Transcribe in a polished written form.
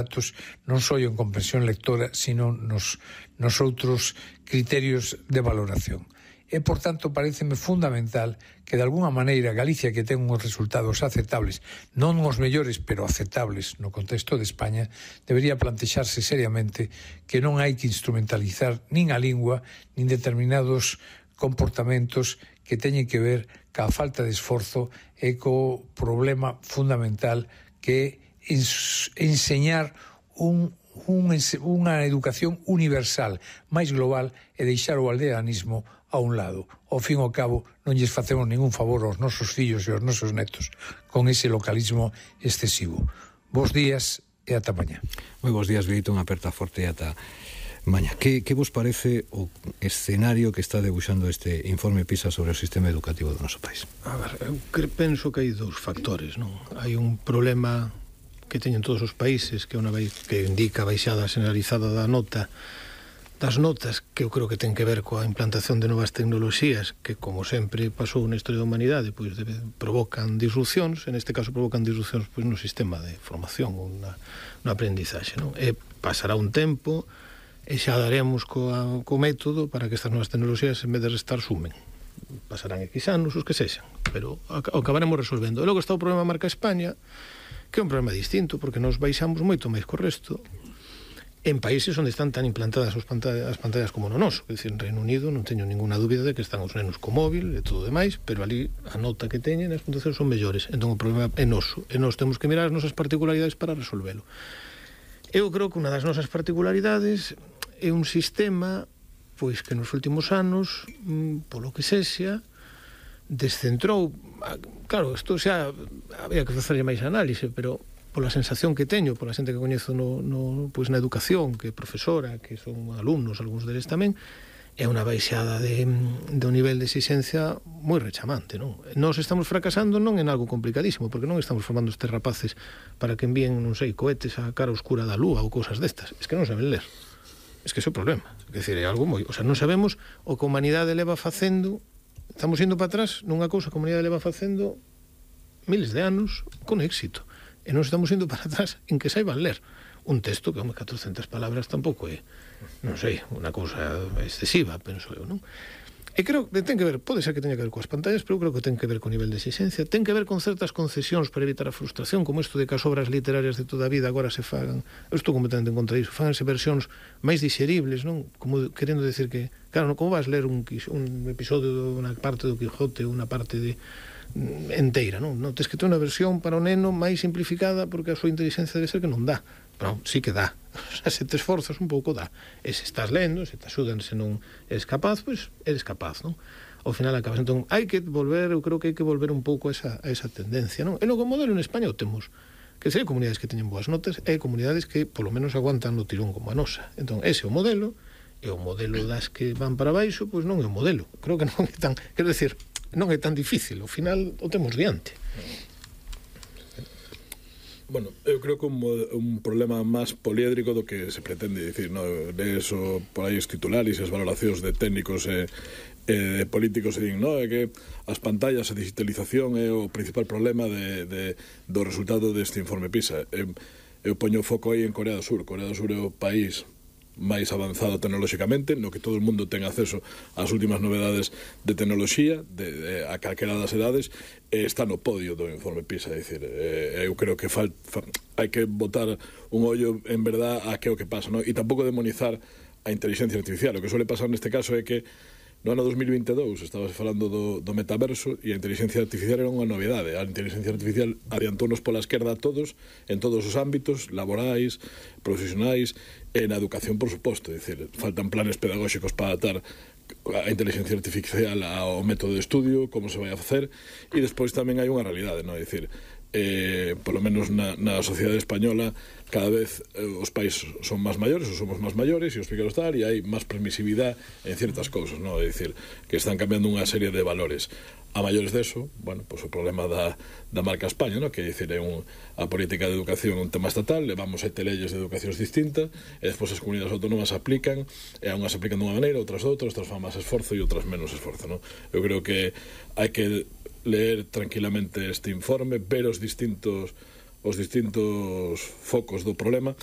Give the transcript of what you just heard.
datos non só en comprensión lectora, sino nos outros criterios de valoración. E, por tanto, pareceme fundamental que, de alguna maneira, Galicia, que ten uns resultados aceptables, non os mellores, pero aceptables no contexto de España, debería plantexarse seriamente que non hai que instrumentalizar nin a lingua, nin determinados comportamentos que teñen que ver ca falta de esforzo e co problema fundamental que é enseñar unha educación universal, máis global, e deixar o aldeanismo a un lado. Ao fin e ao cabo, non lles facemos ningún favor aos nosos fillos e aos nosos netos con ese localismo excesivo. Bos días e ata mañá. Moi bons días, Benito, unha aperta forte e ata mañá. Que vos parece o escenario que está debuxando este informe PISA sobre o sistema educativo do noso país? A ver, eu penso que hai dous factores, non? Hai un problema que teñen todos os países, que indica a baixada generalizada das notas, que eu creo que ten que ver coa implantación de novas tecnoloxías que, como sempre pasou na historia da humanidade, pois provocan disrupcións, en este caso provocan disrupcións pois no sistema de formación ou na aprendizaxe, non? E pasará un tempo e xa daremos co método para que estas novas tecnoloxías, en vez de restar, sumen. Pasarán X anos, os que sexan, pero acabaremos resolvendo. E logo está o problema marca España, que é un problema distinto, porque nos baixamos moito máis co resto en países onde están tan implantadas as pantallas como no noso. É dicir, en Reino Unido non teño ninguna dúbida de que están os nenos co móvil e todo demais, pero ali a nota que teñen as puntuacións son mellores. Entón o problema é noso, e nós temos que mirar as nosas particularidades para resolvelo. Eu creo que unha das nosas particularidades é un sistema pois que nos últimos anos, polo que sexa, descentrou. Claro, isto xa había que facerlle máis análise, pero pola sensación que teño, pola xente que coñezo pois na educación, que é profesora, que son alumnos, algúns deles tamén, é unha baixada do nivel de exigencia moi rechamante, non? Nós estamos fracasando non en algo complicadísimo, porque non estamos formando estes rapaces para que envíen, non sei, cohetes á cara oscura da lúa ou cousas destas. Es que non saben ler. Es que ese é o problema. É dicir, é algo moi... O sea, non sabemos o que a humanidade leva facendo. Estamos indo para atrás nunha cousa que a humanidade leva facendo miles de anos con éxito. E non estamos indo para atrás en que saiban ler un texto que, 400 palabras tampouco é, non sei, unha cousa excesiva, penso eu, non? E creo que ten que ver, pode ser que teña que ver coas pantallas, pero eu creo que ten que ver co nivel de exigencia, ten que ver con certas concesións para evitar a frustración, como isto de que as obras literarias de toda a vida agora se fagan, eu estou completamente en contra disso, faganse versións máis digeribles, non? Como querendo decir que, claro, como vas ler un episodio dunha parte do Quijote ou unha parte de enteira, non? Non tens que ter unha versión para o neno máis simplificada porque a súa inteligencia debe ser que non dá. Pero sí que dá. O sea, se te esforzas un pouco dá. E se estás lendo, se te axudan, se non eres capaz, pois eres capaz, non? Ao final acabas. Entón, hai que volver, eu creo que hai que volver un pouco a esa tendencia, non? E logo o modelo en España o temos, que sei comunidades que teñen boas notas e comunidades que polo menos aguantan no tirón como a nosa. Entón, ese é o modelo, e o modelo das que van para baixo, pois non é o modelo. Creo que non é tan, quero decir, non é tan difícil, ao final o temos diante. Bueno, eu creo que un problema máis poliédrico do que se pretende dicir, no? Eso, por aí os titulares e as valoracións de técnicos e de políticos e din, no? É que as pantallas, a digitalización é o principal problema do resultado deste informe PISA. Eu poño o foco aí en Corea do Sur. Corea do Sur é o país máis avanzado tecnolóxicamente, no que todo o mundo ten acceso ás últimas novedades de tecnoloxía, a calquera das edades, está no podio do informe PISA. É dicir, eu creo que hai que botar un ollo en verdad a que é o que pasa, non? E tampouco demonizar a inteligencia artificial. O que suele pasar neste caso é que no ano 2022 estabas falando do metaverso e a inteligencia artificial era unha novedade. A inteligencia artificial adiantounos pola esquerda a todos, en todos os ámbitos, laborais, profesionais, e na educación, por suposto. É dicir, faltan planes pedagóxicos para adaptar a inteligencia artificial ao método de estudio, como se vai a facer, e despois tamén hai unha realidade, non? É dicir, polo menos na sociedade española cada vez os pais son máis maiores ou somos máis maiores e os pequenos tal, e hai máis permisividade en ciertas cousas, non? É dicir, que están cambiando unha serie de valores. A maiores deso, bueno, pois o problema da marca España, non? Que é dicir, a política de educación é un tema estatal, levamos 7 leyes de educacións distintas e despois as comunidades autónomas aplican, e unhas aplican dunha maneira, outras outras fan máis esforzo e outras menos esforzo, non? Eu creo que hai que leer tranquilamente este informe, ver os distintos focos do problema